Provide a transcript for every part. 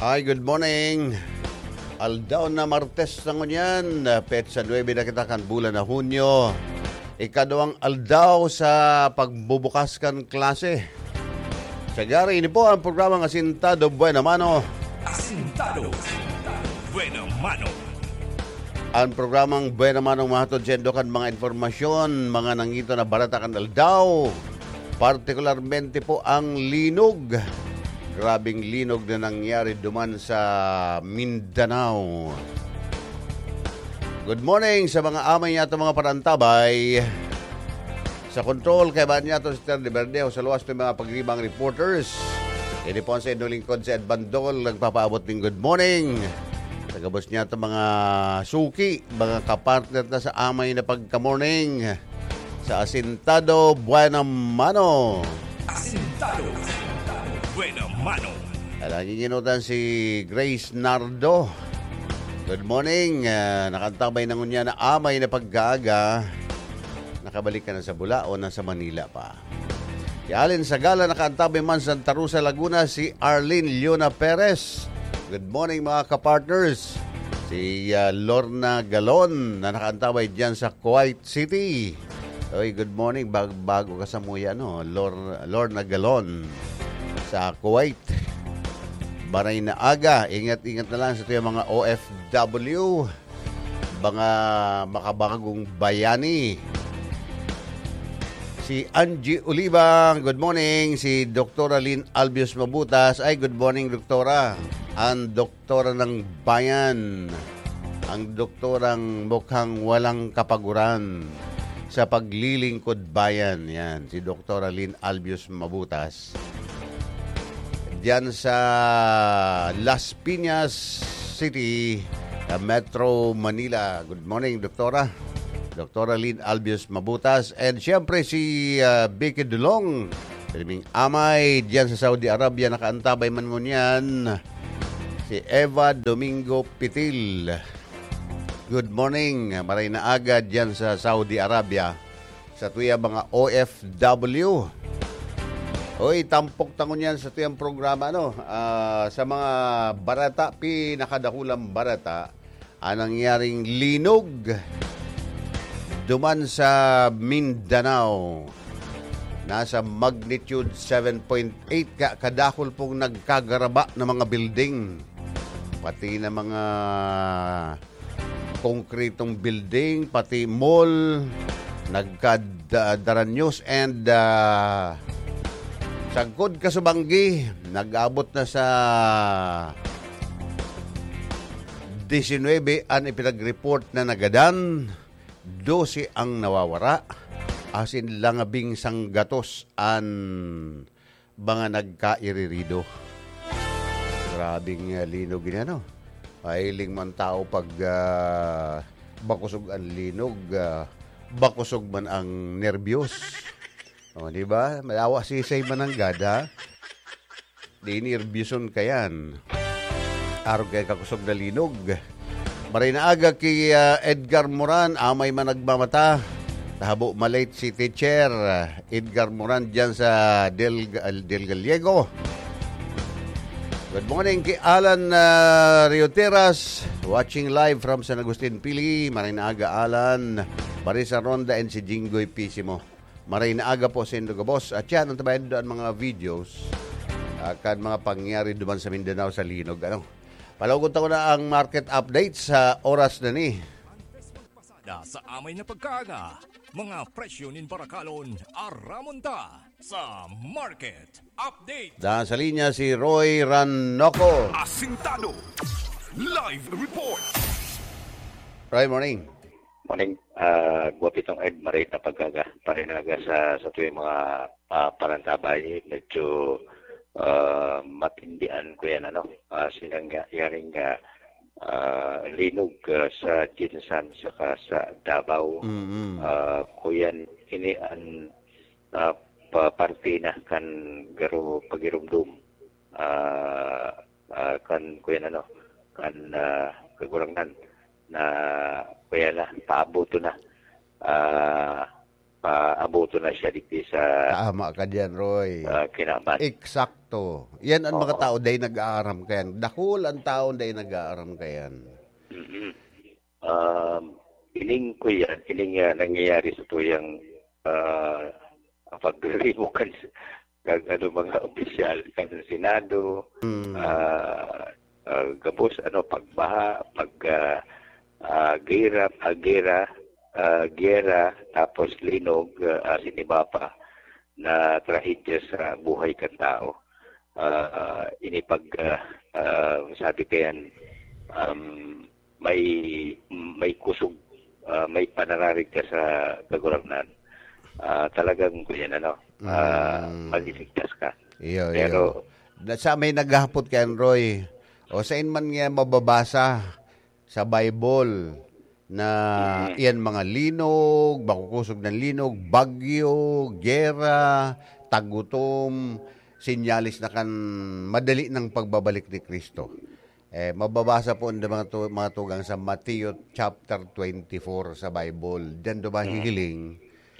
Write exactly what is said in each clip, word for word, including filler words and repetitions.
Ay, good morning. Aldaw na Martes na ngunyan, petsa nuebe na kita kan bulan na Hunyo. Ikaduwang aldaw sa pagbubukas kan klase. Sa gari, ini po ang programang Asintado Buena Mano. Asintado Buena Mano. Ang programang Buena Mano mahatod sendo kan mga informasyon, mga nangito na barata kan aldaw. Partikularmente po ang linog. Grabing linog na nangyari duman sa Mindanao. Good morning sa mga amay niyato, mga parantabay. Sa control, kaiba niyato si Terry Verdeo, sa luwas ng mga pagdibang reporters. Ini po ang sa inyong lingkod, si Ed Bandol, nagpapaabot ng good morning. Sa gabos niyato, mga suki, mga kapartner na sa amay na pagka-morning. Sa Asintado Buena Mano. Asintado Buena Mano. Alang giginutan si Grace Nardo. Good morning. Ah, nakantabay na ngunyan na amay na pagkaaga. Nakabalik ka na sa Bula o nasa Manila pa? Si Allen Sagala, nakaantabay man sa Santa Rosa, Laguna, si Arlene Leona Perez. Good morning, mga kapartners. Si, ah, Lorna Galon na nakaantabay dyan sa Kuwait City. Oy, good morning. Bag-, bago ka sa muya, no? Lor-, Lorna Galon sa Kuwait. Maray na aga. Ingat-ingat na lang sa tuyang mga O F W. Mga makabagong bayani. Si Angie Oliva, good morning. Si Doktora Lynn Albius Mabutas, ay, good morning, Doktora. Ang Doktora ng Bayan. Ang Doktorang mukhang walang kapaguran sa paglilingkod bayan. Yan, si Doktora Lynn Albius Mabutas. Diyan sa Las Piñas City, sa Metro Manila. Good morning, Doktora. Doktora Lynn Albius Mabutas. And siyempre si, ah, Vicky Dulong. Priming Amay, diyan sa Saudi Arabia, nakaantabay man ngunyan. Si Eva Domingo Pitil. Good morning, maray na aga diyan sa Saudi Arabia. Sa tuya mga O F W. Oy, tampok ta ngunyan sa tuyang programa, no? Ah, sa mga barata, pinakadakulang barata, ang nangyaring linog duman sa Mindanao. Nasa magnitude seven point eight ka, kadakul pong nagkagaraba na mga building. Pati na mga konkretong building, pati mall, nagkad-, ah, daranyos and, ah, sagkod kasubanggi, nag-abot na sa disinwebe an ipinag-report na nagadan, dose ang nawawara, asin langabing sanggatos an mga nagkairirido. Grabing, ah, linog ini, ano? Mahiling man tao pag, ah, bakosog ang linog, ah, bakosog man ang nerbiyos. O, di ba? Malawa sisay man ang gada. Di nerbyoson ka yan. Arog kay kakosog na linog. Maray na aga ki, ah, Edgar Moran, amay man nagmamata. Tahabo malate si Teacher, ah, Edgar Moran dyan sa Del, Del Gallego. Good morning ki Alan, ah, Rioteras, watching live from San Agustin, Pili. Maray na aga, Alan. Marisa Ronda and si Jinggoy Pisimo. Maray na aga po sa indo gabos. At yan, ang tabayan doon mga videos, ah, kan mga pangyayari duman sa Mindanao sa linog. Ano? Palawgon ta ko na ang market update sa oras na ni. Da sa amay na pagkaaga, mga presyo nin barakalon, aramon ta sa market update. Da sa linya si Roy Ranoco. Asintado. Live report. Roy, morning. Morning. Ah, Guwapitong Ed, maray na pagkaaga, parinaga sa, sa tuwing mga, ah, parantabay, medyo, ah, matindian ko yan, ano, ah, sinangyaring, ah, ah, linog, ah, sa Jinsan saka sa Davao. Mm-mm. Ah, kuyan, ini an, ah, pa-, parte na kan garo pagirumdom. Ah, ah, kan, kuyan, ano, kan, ah, Kagurangnan na kuyan na, paabuto na. Ah, paabuto na siya digdi sa, Tama ka diyan, Roy. ah, Kinaban. Eksakto. To, yan ang mga Oo. tao dai nag-aaram kayan. Dakul ang tao dai nag-aaram kayan. Mm. Um, ining kuya, ining, ah, nangyayari sa tuyang, ah, pagdiribo kan, kan ano, mga opisyal kan Senado, Mm. ah, ah, gabos, ano, pagbaha, pag, ah, ah, gira, ah, gira, ah, giyera, tapos linog, ah, asin iba pa na trahedya sa buhay kan tao. Ah, ini pag, ah, ah, sabi kayan, um, may, may kusog, ah, may panararig ka sa Kagurangnan. Ah, talagang, kuyan, ano, ah, Mm. maliligtas ka. Iyo, Pero iyo. Na, sa may naghahapot kay Roy, o sain man nga mababasa sa Bible na Mm. iyan mga linog, makukusog na linog, bagyo, gera, tagutom, senyales na kan madali ng pagbabalik ni Cristo. Eh, mababasa po ang mga tu-, mga tugang sa Mateo chapter twenty-four sa Bible. Diyan daw Mm. mahihiling.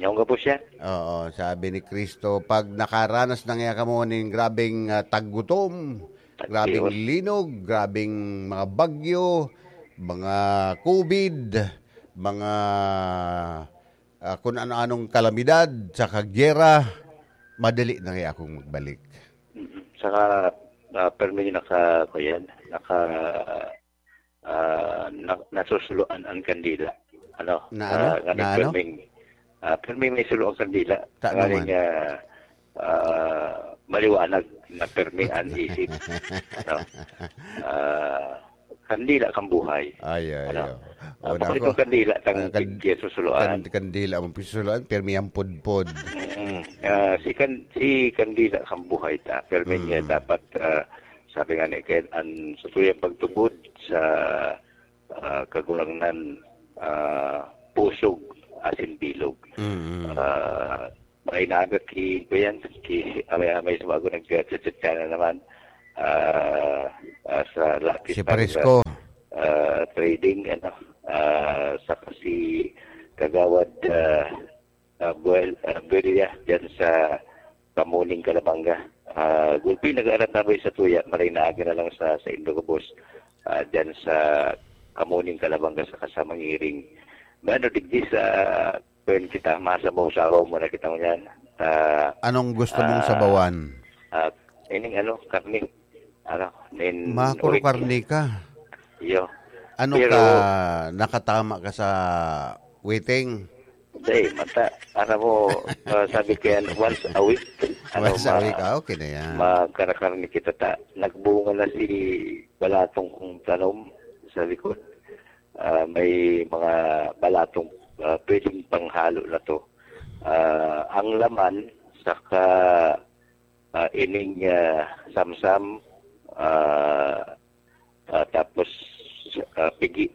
Yung ka po siya? Oo, sabi ni Cristo, "Pag nakaranas na nga kamo nin grabeng, ah, tagutom, Tag-, grabeng yun. linog, grabeng mga bagyo, mga covid, mga, ah, kung ano-anong kalamidad, sa kagyera, madali na nga akong magbalik." Mm. Saka, ah, permi naka, kuyan, naka, ah, na, nasusuluan ang kandila. Ano? Na ano? Ah, nga Na ano? Perming, ah, perming may sulo ang kandila. Ta Ngayon naman. nga, ah, maliwanag na permi ang isip. Ano? Ah, kandila kang buhay. Ay, ay, Ano? ay. Ah, O, bukod nako. itong kandila, tang Ah, kan-, kaya susuluan. kan-, kandila ang susuluan, permi ang pudpod. Mm. Ah, si kan-, si kandila kang buhay ta. Permi niya Mm. dapat, ah, sabi nga ni Ken, ang sa tuyang pagtubod sa, ah, Kagurangnan, ah, pusog asin bilog. Mm. Ah, may naaga ki, kuyan, ki, amay-amay sa bago nag-chat-chat ka na naman. Ah, ah, sa Lucky Si Star, Parisco. ah, Trading, ano, ah, saka si Kagawad, ah, ah, Buel-, ah, Buelia, dyan sa Kamuning, Calabanga. Ah, gulpi, nag-aarat na ba sa tuya? Maray na aga na lang sa, sa Indo gabos. Ah, dyan sa Kamuning, Calabanga, saka sa Mangiring. Ano, digdi sa, kwen kita, masabaw-sabaw mo na kita ngunyan. Ah, Anong gusto mong ah, sabawan? ah, ining ano, karne. Ano, nin Makuro ulit. karne ka. Iyo. Ano Pero ka, nakatama ka sa waiting? Hindi, mata, ano mo, ah, sabi ko yan, once a week. Ano, Once a ma-, week, ah, okay na yan. magkarakarne kita ta. Nagbunga na si balatong kong tanom sa likod. Ah, may mga balatong, ah, pwedeng panghalo na to. Ah, ang laman, saka, ah, ining, ah, samsam, ah, ah, tapos, ah, pigi,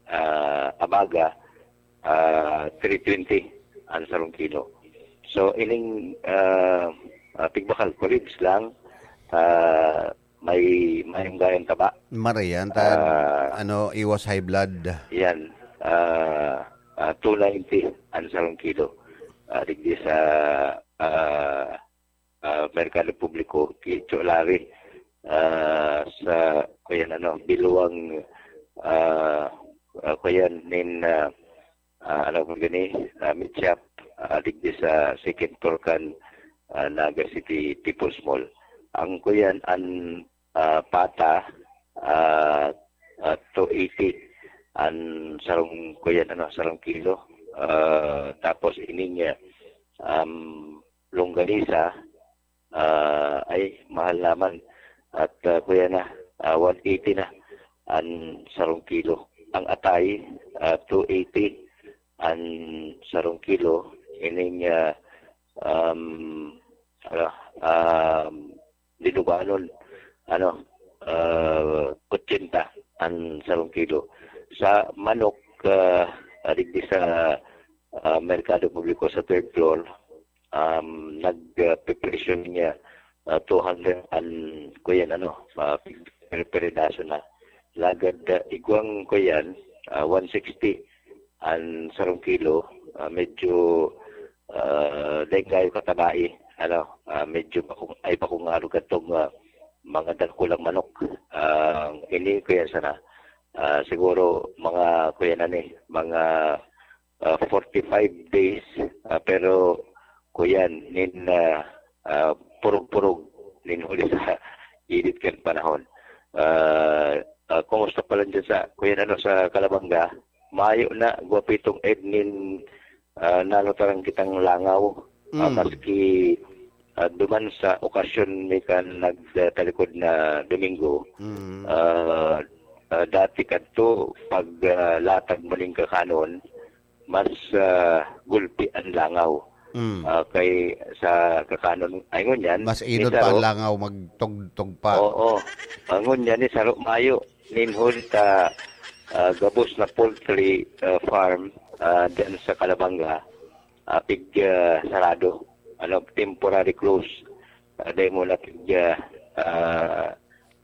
ah, abaga, ah, three twenty ang sarong kilo. So, ining, ah, ah, pigbakal ko, ribs lang, ah, may, may gayang taba. Marayan, ta, Ah. ano, iwas high blood. Yan, ah, ah, two ninety ang sarong kilo. Ah, digdi sa, ah, ah, merkado publiko, ki Cholari, ah, sa, kuyan, ano, biluang, ah, ah, kuyan, nin, ah, ah, ano po gani, ah, meat shop, ah, digdi sa second floor kan, ah, Naga City People's Mall. Ang kuyan, ang, ah, pata, ah, ah, two eighty. Ang sarong kuyan, ano, sarong kilo. Ah, tapos ining, ah, um, longganisa, ah, ay, mahal naman. At, ah, kuya na, ah, one eighty na ang sarong kilo. Ang atay, ah, two eighty ang sarong kilo. Ining, ah, um, ano, um, dinuganon, ano, ah, eighty ang sarong kilo. Sa manok, ah, ah, digdi sa, ah, merkado publiko sa third floor, um, nag, ah, pe-, presyo niya, ah, two hundred ang, kuyan, ano, ah, per, per pedaso na. Lagad, ah, igwang, kuyan, ah, one sixty ang sarong kilo, ah, medyo, ah, dai kayo katabai. ano, ah, medyo bakong, ay, bakong arog kadtong, ah, mga dakulang manok. Ah, ini, kuya, sana, ah, siguro mga, kuya, na ni, mga, ah, forty-five days, ah, pero, kuya, nin, ah, ah, purog-purog nin huli sa init kan panahon. Ah, ah, kumusta pa lang dyan sa, kuya, ano, sa Calabanga? Mayo na, gwapitong Ed, nin, ah, nalutaran kitang langaw. Ah, Mm. Maski, ah, duman sa okasyon mi kan nagtalikod na Domingo, Mm. ah, ah, dati kadto, pag, ah, latag mo ning kakanon, mas, ah, gulpi an langaw. Mm. Ah, kay sa kakanon, ay, ngunyan, Mas inod ni pa ang saro. langaw, magtugtog pa. Oo. Ang ngunyan ni saro mayo, nin huli ta, ah, gabos na poultry, ah, farm, ah, dyan sa Calabanga, ah, pig, ah, sarado. Ano, temporary close. Ah, dahil muna pig, ah, ah,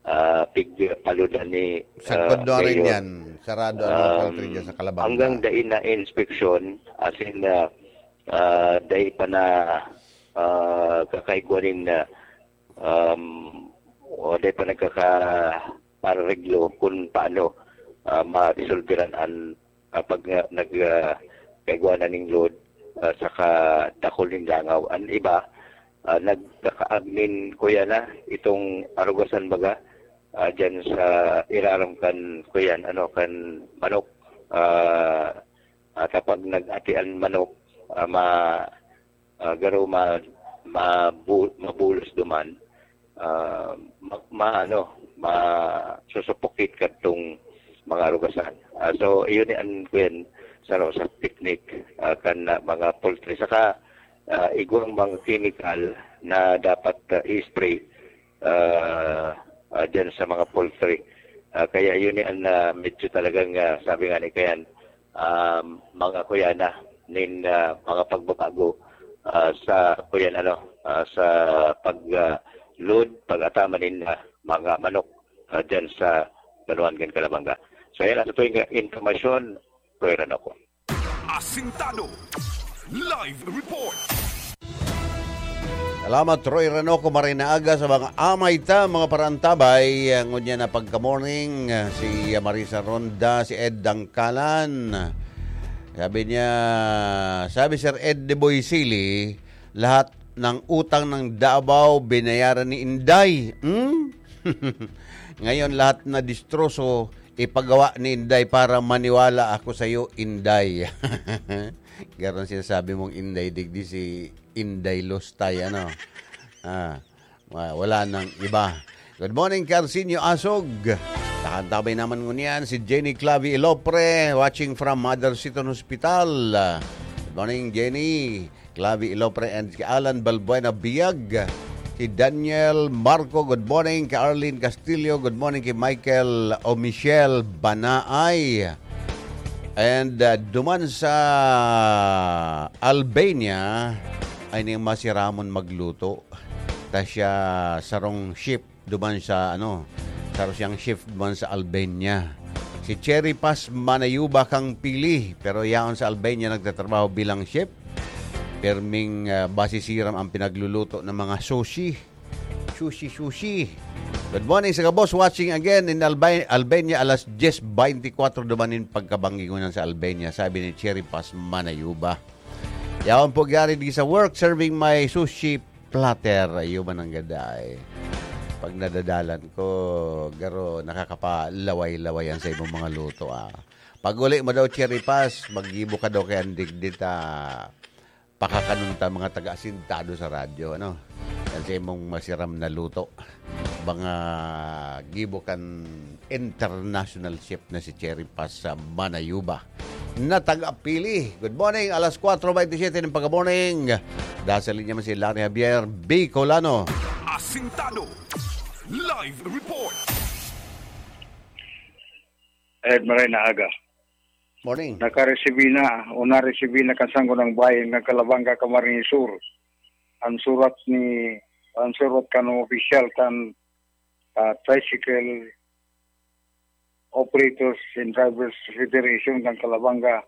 ah, pig, ah, paludan ni, Sagkod ah, na rin Mayor. yan. Sarado ang mga Um, poultry dyan sa Calabanga. Hanggang dai na inspeksyon, as in, ah, ah, dai pa na, ah, kakaigwa nin, ah, um, o dai pa nagkakapareglo kung paano, ah, maresolveran an, ah, pag nga nag, ah, kaigwa na ning load, ah, saka dakul nin langaw. An iba, ah, nagkakaag nin, kuya, na itong arugasan baga, ah, dyan sa irarom kan, kuya, ano, kan manok. Ah, at kapag nag-ati an manok, ah, ma-, ah, garo ma-, mabu-, mabulos duman, ah, ma-, ma-, ano, masusupukit kadtong mga arugasan. Ah, so, iyon ni an, kuyan, saro sa technique, ah, kan, ah, mga poultry. Saka, ah, igwang mga chemical na dapat, ah, i-spray, ah, ah, dyan sa mga poultry. Ah, kaya yun ni an, ah, medyo talagang, ah, sabi nga ni Kayan, um, mga, kuya, na nin, ah, mga pagbabago, ah, sa, kuyan, ano, ah, sa pag, ah, load, pag-atama nin, ah, mga manok, ah, dyan sa Banuan kan Calabanga. So, yan ang totoo yung impormasyon, Kuya Ranoko. Asintado. Live report. Salamat, Roy Renoco, maray na aga sa mga amay ta, mga parantabay. Ngunyan na pagka-morning, si Marisa Ronda, si Ed Dangkalan. Sabi niya, sabi Sir Ed de Boy Sili, lahat ng utang ng Davao binayaran ni Inday. Hmm? Ngayon lahat na distroso, ipagawa ni Inday para maniwala ako sa'yo, Inday. Garo an sinasabi mong Inday digdi, si Inday Lustay, ano? Ah, wa-, wala nang iba. Good morning, Carcinio Asog. Tahan-tabay naman ngunyan si Jenny Clavi Ilopre, watching from Mother Seton Hospital. Good morning, Jenny Clavi Ilopre and si Alan Balbuena Biag. Si Daniel Marco, good morning. Kay Arlene Castillo, good morning. Kay Michael o Michelle Banaay. And, uh, duman sa Albania, ay ning masiramon magluto. Ta siya sarong shift duman sa, ano, saro siyang shift duman sa Albania. Si Cherry Paz Manayuba kang pili, pero yaon sa Albania nagtatrabaho bilang chef. Perming, ah, basi siram ang pinagluluto ng mga sushi. Sushi, sushi. Good morning sa gabos, watching again in Alba-, Albania, alas dyes beintikwatro duman nin pagkabanggi ngunyan sa Albania, sabi ni Cherry Paz Manayuba. Yaon po gari di sa work, serving my sushi platter. Iyo man ang gaday. Pag nadadalan ko, garo, nakakapalaway-laway yan sa imong mga luto, ah. Pag uli mo daw, Cherry Paz, maggibo ka daw kay Andigdit, ah. Pakakanon ta mga taga-asintado sa radyo, ano? Yan sa imong masiram na luto. Mga gibo kan international chef na si Cherry Paz sa Manayuba na taga-Pili. Good morning, alas kwatro bentisiete ng pagka-morning. Nasa linya man si Larry Javier Bicolano. Asintado. Live report. Ed, maray na aga. Morning. Nakaresibi na o naresibi na kan Sangguniang Bayan kan Calabanga, Camarines Sur, ang surat ni, ang surat kan opisyal kan, ah, Tricycle Operators and Drivers Federation kan Calabanga,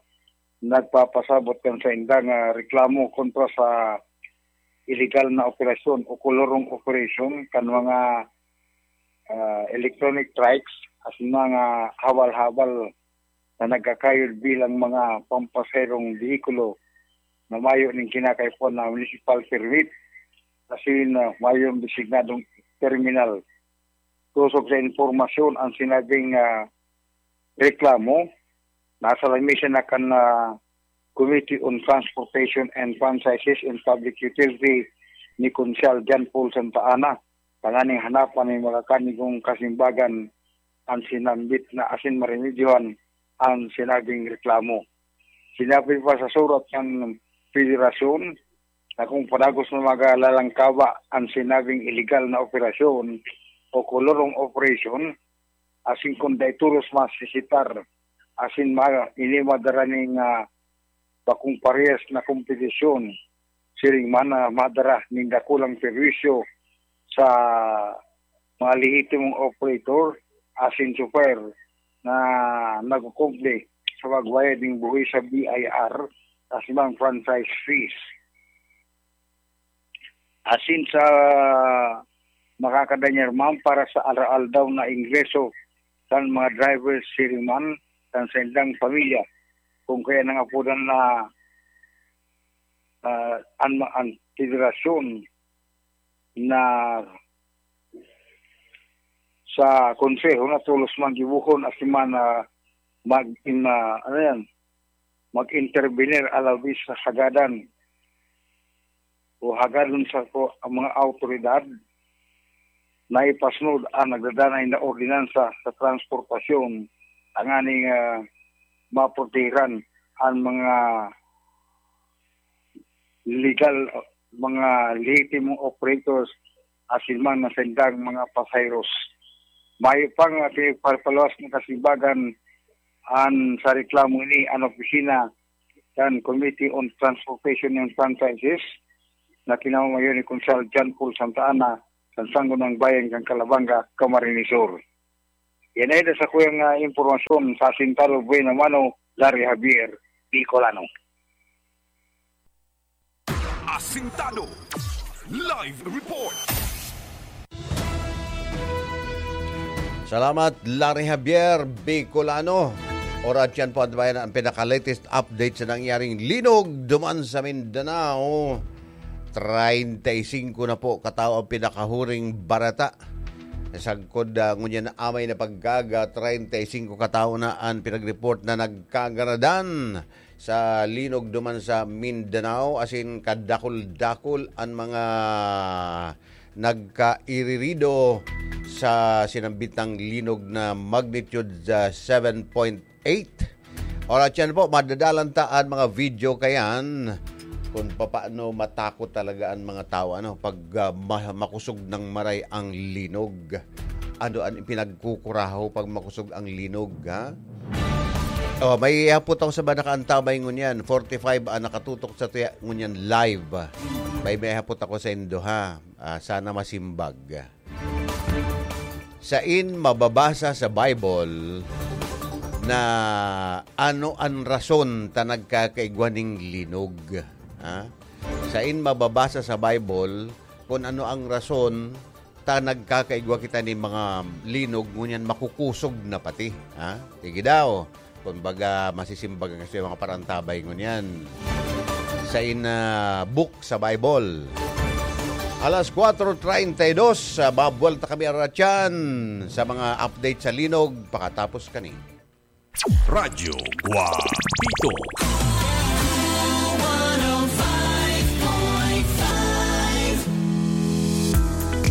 nagpapasabot kan sainda nga reklamo kontra sa iligal na operasyon o kolorong operasyon kan mga, ah, electronic trikes asin mga habal-habal na nagkakayod bilang mga pampasaherong behikulo na mayo ning kinakaipuhan na municipal permit asin, ah, mayong designadong terminal. Sosog sa impormasyon, ang sinabing, ah, reklamo nasa lamesa na kan, ah, Committee on Transportation and Franchises and Public Utility ni Konsehal John Paul Santa Ana, tanganing hanapan nin makakanigong kasimbagan ang sinambit na asin maremedyohan ang sinabing reklamo. Sinabi pa sa surat ng federasyon na kung padagos na magalalangkaba ang sinabing iligal na operasyon o kolorong operation, asin kung dai tolos masisitar, asin ma-, ini madara ning, ah, bakong parehas na kompetisyon, siring man na madara ning dakulang perwisyo sa mga lehitimong operator asin chauffeur na nagkukumple sa pagbayad ning buhis sa B I R asin mga franchise fees. Asin sa makakadanyar man para sa aroaldaw na ingreso kan mga drivers siring man kan saindang pamilya, kung kaya nang apodan na, ah, an, an federasyon na sa konseho na tolos man gibohon asin man, ah, mag-, in, ah, ano yan, mag-intervenir alawis sa hagadan o hagadon sa ko-, ang mga awtoridad na ipasnud ang nagdadanay na ordinansa sa transportasyon, tanganing, ah, maprotehiran ang mga legal, mga lehitimong operators asin man na saindang mga pasaheros. Mayo pang, ah, pinagpapaluwas ng kasimbagan an sa reklamo ini an opisina kan Committee on Transportation and Franchises na kinamamayo ni Konsehal John Paul Santa Ana kan Sangguniang Bayan kan Calabanga, Camarines Sur. Yan ay sa kuyang, ah, impormasyon sa Asintado Buena Mano, Larry Javier, Bicolano. Asintado Live Report. Salamat, Larry Javier Bicolano. Oras yan po, antabayan ang pinaka-latest update sa nangyaring linog duman sa Mindanao. Treinta y cinco na po katao ang pinakahuring bareta. Sagkod, ah, ngunyan na amay na pagkaga, treinta y cinco katao na ang pinag-report na nagkagaradan sa linog duman sa Mindanao, asin kadakul-dakul an mga nagkairirido sa sinambitang linog na magnitude sa seven point eight. Oras yan po, madadalan ta an mga video kayan kung papaano matakot talaga an mga tao, ano, pag, ah, ma-, makusog ng maray ang linog. Ano an ipinagkukuraho pag makusog ang linog, ha? Oh, may hapot ako sa mga nakaantabay ngunyan. Forty-five ang nakatutok sa tuya ngunyan live. May, may hapot ako sa indo, ha? Ah, sana masimbag. Sain mababasa sa Bible na ano an rason ta nagkakaigwa ning linog? Ha? Sain mababasa sa Bible kung ano ang rason ta nagkakaigwa kita nin mga linog, ngunyan makukusog na pati, ha? Sige daw, kumbaga, masisimbagan kasi yung mga parantabay ngunyan. Sain na book sa Bible. Alas kwatro treinta y dos, ah, babuwalta kami aratyan sa mga update sa linog pakatapos kani. Radyo Guapito.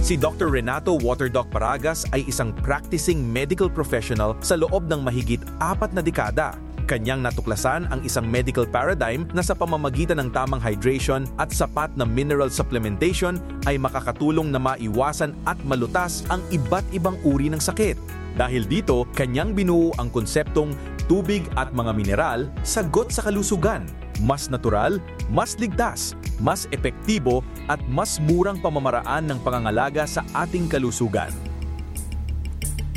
Si Doctor Renato Waterdoc Paragas ay isang practicing medical professional sa loob ng mahigit apat na dekada. Kanyang natuklasan ang isang medical paradigm na sa pamamagitan ng tamang hydration at sapat na mineral supplementation ay makakatulong na maiwasan at malutas ang iba't ibang uri ng sakit. Dahil dito, kanyang binuo ang konseptong tubig at mga mineral, sagot sa kalusugan. Mas natural, mas ligtas, mas epektibo, at mas murang pamamaraan ng pangangalaga sa ating kalusugan.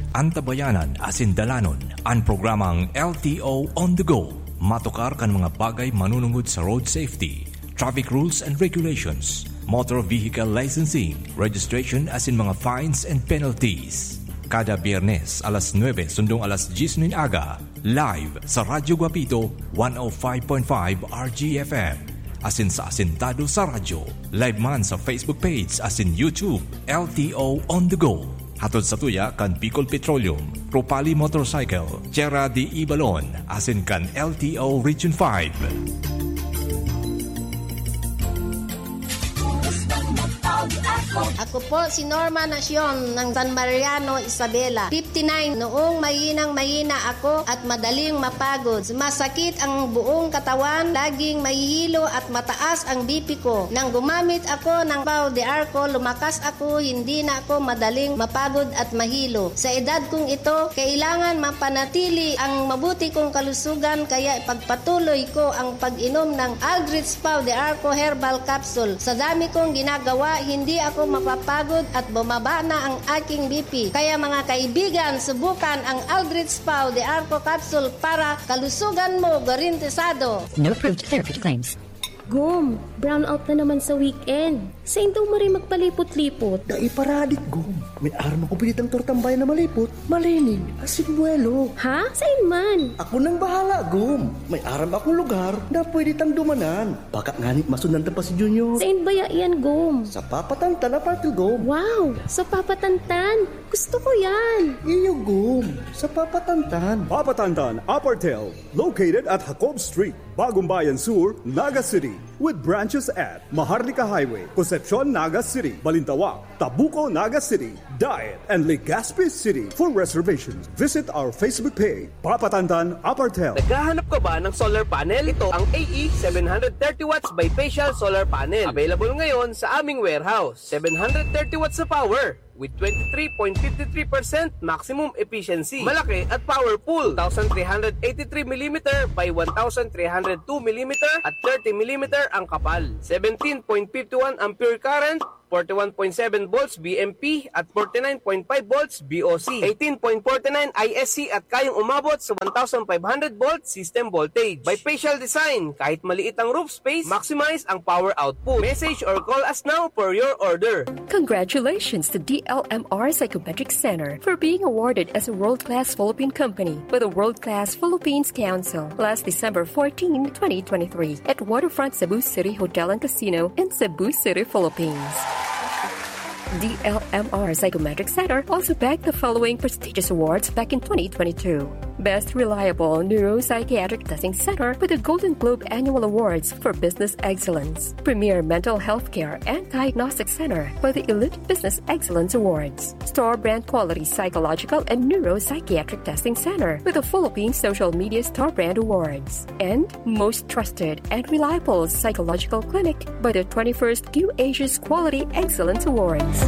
Antabayanan asin dalanon an programang L T O On The Go. Matukar kan mga bagay manunungod sa road safety, traffic rules and regulations, motor vehicle licensing, registration asin mga fines and penalties. Kada Biyernes, alas nuebe sundong alas dyes nin aga, live sa Radyo Guapito, one oh five point five R G F M. Asin sa Asintado sa Radyo, live man sa Facebook page asin YouTube, L T O On The Go. Hatod sa tuya kan Bicol Petroleum, Propali Motorcycle, Tierra de Ibalon, asin kan L T O Region five. Ako po si Norma Nacion ng San Mariano, Isabela, fifty-nine. Noong mahinang-mahina ako at madaling mapagod, masakit ang buong katawan, laging mahihilo at mataas ang B P ko. Nang gumamit ako ng Pau de Arco, lumakas ako, hindi na ako madaling mapagod at mahilo. Sa edad kong ito, kailangan mapanatili ang mabuti kong kalusugan, kaya ipagpatuloy ko ang pag-inom ng Aldrich Pau de Arco Herbal Capsule. Sa dami kong ginagawa, hindi ako mapapagod at bumaba na ang aking B P. Kaya, mga kaibigan, subukan ang Aldrich Pau de Arco Capsule para kalusugan mo garantisado. No approved therapeutic claims. Gom, brownout na naman sa weekend. Sain daw maray magpalipot-lipot? Dai pa radik, Gom. May aram akong pwede tang tortambayan na malipot, malinig, asin buwelo. Ha? Sain man? Ako nang bahala, Gom. May aram akong lugar na pwede tang dumanan. Baka ngani masundan ta pa si Junior. Sain baya yan, Gom? Sa Papatantan Apartel, Gom. Wow! Sa Papatantan? Gusto ko yan! Iyo, Gom. Sa Papatantan. Papatantan Apartel, located at Jacob Street, Bagumbayan Sur, Naga City, with branches at Maharlika Highway, Concepcion, Naga City, Balintawak, Tabuco, Naga City, Daet, and Legazpi City. For reservations, visit our Facebook page, Papatantan Apartel. Naghahanap ka ba ng solar panel? Ito ang A E seven hundred thirty watts bifacial solar panel. Available ngayon sa aming warehouse. Seven hundred thirty watts sa power with twenty-three point five three percent maximum efficiency. Malaki at powerful. Two thousand three hundred eighty-three millimeter by one thousand three hundred two millimeter at thirty millimeter ang kapal. Seventeen point five one ampere current, forty-one point seven volts V M P at forty-nine point five volts V O C. Eighteen point forty-nine I S C at kayang umabot sa one thousand five hundred volt system voltage. Bifacial design, kahit maliit ang roof space, maximize ang power output. Message or call us now for your order. Congratulations to D L M R Psychometric Center for being awarded as a world-class Philippine company by the World Class Philippines Council last December fourteen, twenty twenty-three, at Waterfront Cebu City Hotel and Casino in Cebu City, Philippines. D L M R Psychometric Center also bagged the following prestigious awards back in twenty twenty-two: Best Reliable Neuropsychiatric Testing Center with the Golden Globe Annual Awards for Business Excellence, Premier Mental Health Care and Diagnostic Center by the Elite Business Excellence Awards, Store Brand Quality Psychological and Neuropsychiatric Testing Center with the Philippine Social Media Store Brand Awards, and Most Trusted and Reliable Psychological Clinic by the twenty-first Q Asia's Quality Excellence Awards.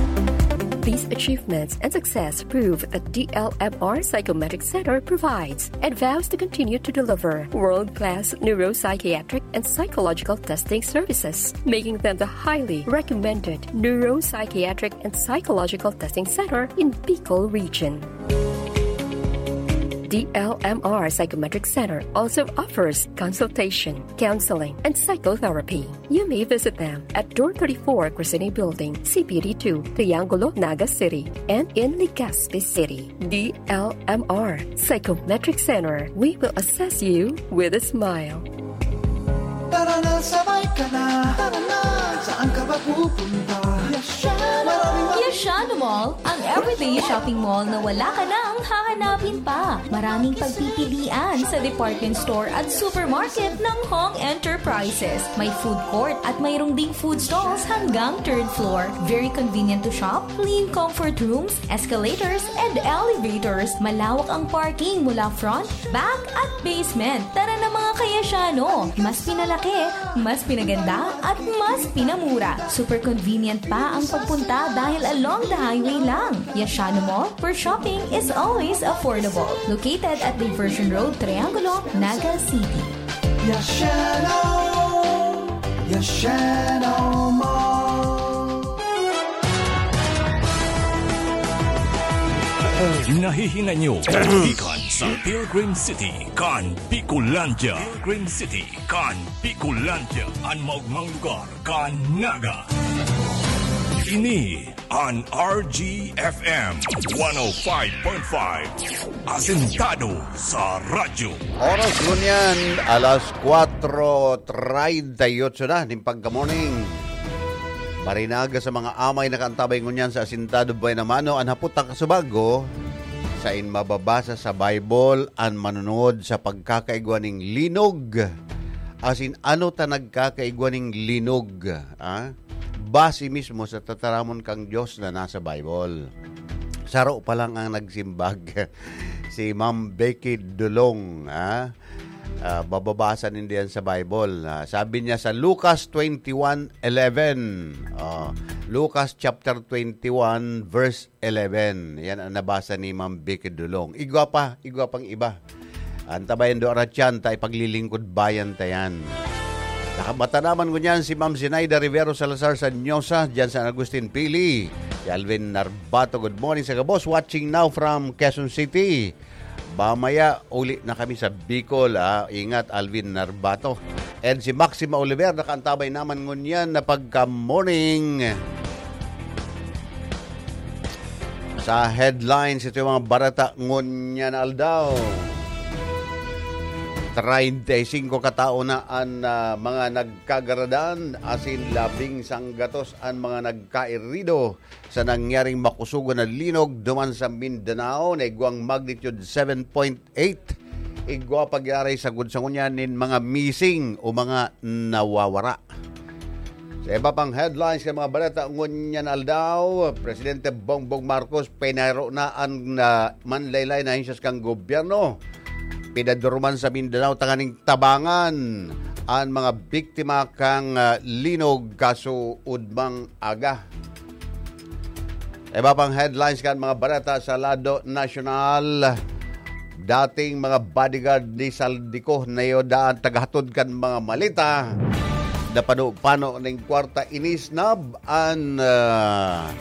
These achievements and success prove that D L M R Psychometric Center provides and vows to continue to deliver world-class neuropsychiatric and psychological testing services, making them the highly recommended neuropsychiatric and psychological testing center in Bicol region. D L M R Psychometric Center also offers consultation, counseling, and psychotherapy. You may visit them at Door thirty-four, Crescene Building, C P D two, Triangulo, Naga City, and in Legazpi City. D L M R Psychometric Center. We will assess you with a smile. Tara na, sabay ka na. Tara na, saan ka ba pupunta? Yashano! Maraming Yashano Mall, ang everyday shopping mall na wala ka nang hahanapin pa. Maraming pagpipilian sa department store at supermarket ng Hong Enterprises. May food court at mayroong ding food stalls hanggang third floor. Very convenient to shop, clean comfort rooms, escalators, and elevators. Malawak ang parking mula front, back, at basement. Tara na, mga ka-Yashano! Mas pinalaki, mas pinaganda, at mas pinamura. Super convenient pa ang pagpunta dahil along the highway lang. Yashano Mall, where shopping is always affordable. Located at Diversion Road, Triangulo, Naga City. Yashano! Yashano Mall! Nahihinay nyo, gikan sa Pilgrim City, kan Bicolandia. Pilgrim City, kan Bicolandia, an maogmang lugar kan Naga. Ini an R G F M one oh five point five, Asentado sa Radyo. Oras ngunyan, alas kwatro treinta y ocho na nin pagka-morning. Marinaga sa mga amay nakaantabay ngunyan sa Asentado Buena Mano, an hapot ta kasubago, sain mababasa sa Bible an manunod sa pagkakaigwa ning linog? Asin ano ta nagkakaigwa ning linog? Ah? Base mismo sa tataramon kan Dios na nasa Bible. Saro pa lang ang nagsimbag, si Ma'am Becky Dulong, ah. Ah, mababasa nindo yan sa Bible. Ah, sabi niya sa Lucas twenty-one eleven. Oh, Lucas chapter twenty-one, verse eleven. Yan ang nabasa ni Ma'am Becky Dulong. Igwa pa, igwa pang iba. Antabayan do aratyan ta ipaglilingkod bayan ta yan. Nakabata naman ngunyan si Ma'am Zinaida Rivero Salazar sa Nyosa, dyan sa Agustin Pili. Si Alvin Narbato, good morning sa gabos. Watching now from Quezon City. Mamaya, uli na kami sa Bicol, ah. Ingat, Alvin Narbato. And si Maxima Oliver, nakaantabay naman ngunyan na pagka-morning. Sa headlines, ito yung mga barata ngunyan na aldaw. Treinta y cinco katao na an, ah, mga nagkagaradan, asin labing sanggatos an mga nagkairido sa nangyaring makusugon na linog duman sa Mindanao na igwang magnitude seven point eight. Igwa pagyaray sagkod sa ngunyan nin mga missing o mga nawawara. Sa iba pang headlines kan mga baleta ngunyan na aldaw, Presidente Bongbong Marcos pinaro na an, ah, manlaylay na ahensyas kan gobyerno. Pinaduruman sa Mindanao tanganing tabangan an mga biktima kan, ah, linog kasuodmang aga. Iba pang headlines kan mga baleta sa lado nasyonal. Dating mga bodyguard ni Zaldy Co na iyo daan tagahatod kan mga maleta. Napano-pano ning kwarta, inisnab an, ah,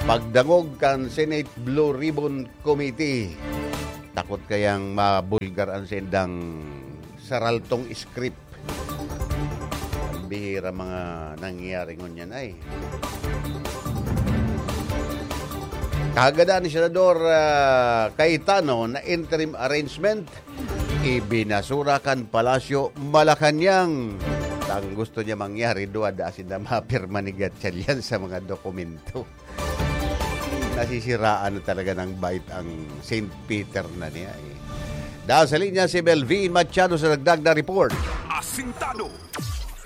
pagdangog kan Senate Blue Ribbon Committee. Takot kayang mabulgar an sendang saraltong script. Ang bihira mga nangyayari ngunyan ay. Kagada ni Senador, ah, Cayetano na interim arrangement, ibinasura kan Palasyo Malacañang. Ang gusto niya mangyari, duwa da asin na mapirma ni Gatchalian sa mga dokumento. Nasisiraan na talaga ng bait ang Saint Peter na niya, eh. Dahil sa linya si Melvin Machado sa dagdag na report. Asintado.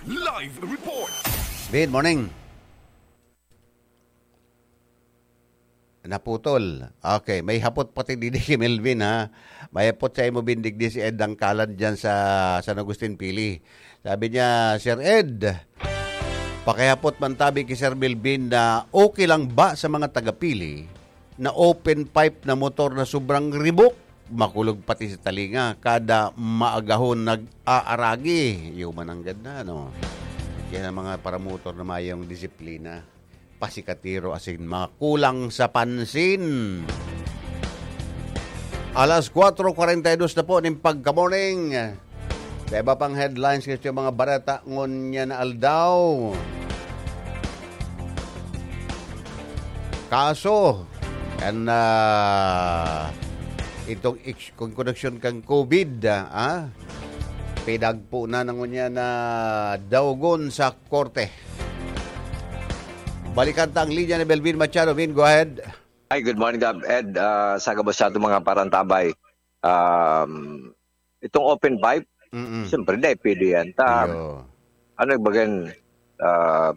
Live report. Good morning. Naputol. Okay, may hapot pati digdi si Melvin, ha. May hapot sa imo, Bin, digdi si Ed Dangkalan dyan sa San Agustin Pili. Sabi niya, "Sir Ed, pakihapot man tabi ki Sir Melvin na okay lang ba sa mga taga-Pili na open pipe na motor na sobrang ribok? Makulog pati sa talinga, kada maagahon nag-aaragi." Iyo man ang ganda, no? Yan ang mga paramotor na mayong disiplina. Pasikatiro asin mga kulang sa pansin. Alas kwatro kwarenta y dos na po ning pagka-morning. Sa iba pang headlines, gusto yung mga bareta ngunyan na aldaw. Kaso, kan, ah, itong ex-, kung koneksyon kan COVID, ah, ah, pinagpo na ng ngunyan na daugon sa korte. Balikan ta ang linya ni Melvin Machado. Vin, go ahead. Ay, good morning, Gab. Ed, ah, sa gabos sa ating mga parantabay. Um, itong open pipe, Mm-mm. siyempre, dai pwede yan. Ta, Iyo. ano, bagan, ah,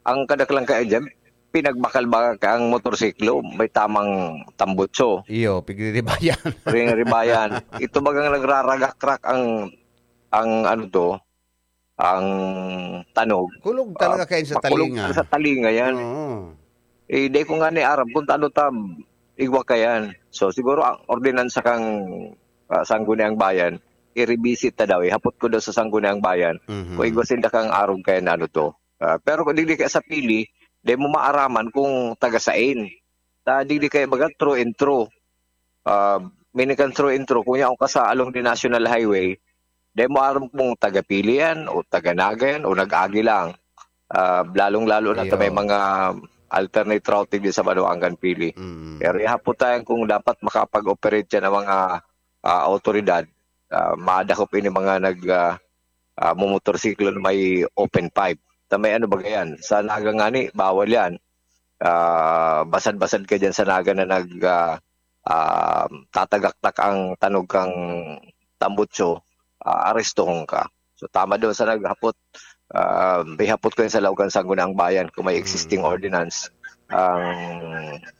ang kadaklan kaya dyan, pinagbakal-bakal ka ang motorsiklo, may tamang tambutso. Iyo, pigribayan. Pigribayan. Ito bagang nagraragakrak ang, ang ano to, ang tanog. Kulog talaga Ah, kayo sa makulog talinga. Sa talinga yan. Oo. Eh, di ko nga ni aram kung ano tam, igwa ka yan. So, siguro ang ordinansa kang, ah, Sangguniang Bayan, i-revisit ta daw, ihapot ko daw sa Sangguniang Bayan, Mhm. kung igwa sinda kang arog kaya na ano to. Ah, pero kung digdi kaya sa Pili, di mo maaraman kung taga sain. Ta digdi kaya baga true and true. Ah, meaning kan true and true, kung yaon ka sa along the National Highway, di mo aram kung taga Pili yan o taga Naga yan o nag-agi lang. Ah, lalong-lalo na ta may Iyo. mga alternate route digdi sa Banuangan, Pili. Mm. Pero ihapot tayo kung dapat makapag-operate yan ang mga ah, awtoridad. Ah, madakop ini mga nag ah, ah, mumotorsiklo na may open pipe. Ta may ano ba yan? Sa Naga ngani, bawal yan. Ah, basad-basad ka dyan sa Naga na nag ah, ah, tatagaktak ang tanog kang tambutso, ah, arestuhon ka. So tama daw sa naghapot, ah, ihapot ko yan sa Laog kan Sangguniang Bayan kung may existing Mm. ordinance ang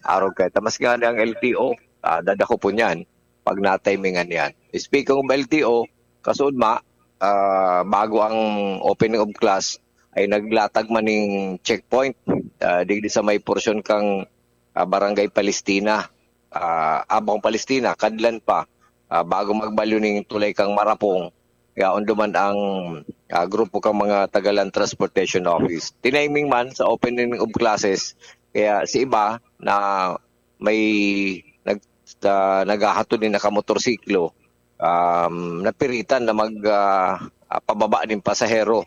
arog kay. Tamas nga ang L T O, ah, dadakopon yan pag natimingan yan. Speaking of L T O, kasuod ma, ah, bago ang opening of class, ay naglatag man ning checkpoint ah, digdi sa may porsyon kang ah, Barangay Palestina. Ah, Abang Palestina, kadlan pa. Ah, bago magbalyo ning tulay kang Marapong, yaon duman ang ah, grupo kang mga taga Land Transportation Office. Tiniming man sa opening of classes, kaya si iba na may nag, ah, naghahatod ni nakamotorsiklo, um, napiritan na mag ah, ah, pababa ning pasahero.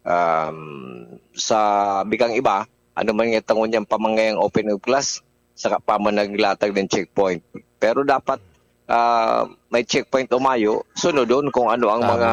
Um, sa bikang iba, ano man nga tangon niyang pamangayang open of class, saka pa man naglatag ng checkpoint. Pero dapat ah, may checkpoint o mayo, sunodon kung ano ang Tama. mga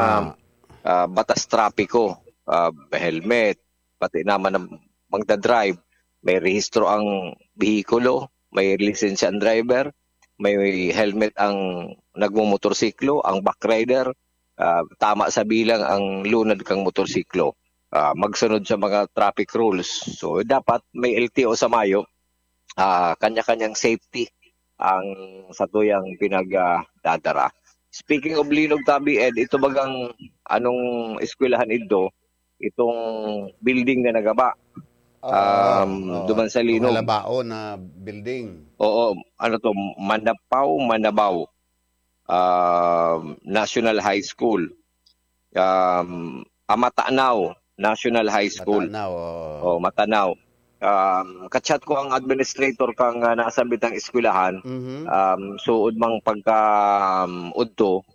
ah, batas trapiko, ah, helmet, pati naman ang magdadrive, may rehistro ang behikulo, may lisensya ang driver, may helmet ang nagmumotorsiklo, ang backrider, ah, tama sa bilang ang lunad kang motorsiklo. Ah, magsunod sa mga traffic rules. So dapat may L T O sa mayo, ah, kanya-kanyang safety ang satuyang pinagdadara. Speaking of linog, Tabi Ed, ito bagang anong eskwelahan idto, itong building na nagaba. Ah, Um, oo. Duman sa Yung linog. Halabao na building. Oo, ano to, Mandapaw, Mandabaw. Um, National High School. Um, ah, Matanao National High School. Matanao, oo. Oh, Matanao. Um, kachat ko ang administrator kang ah, nasambitang eskwelahan. Mhm. Um, suod mang pagka um, udto,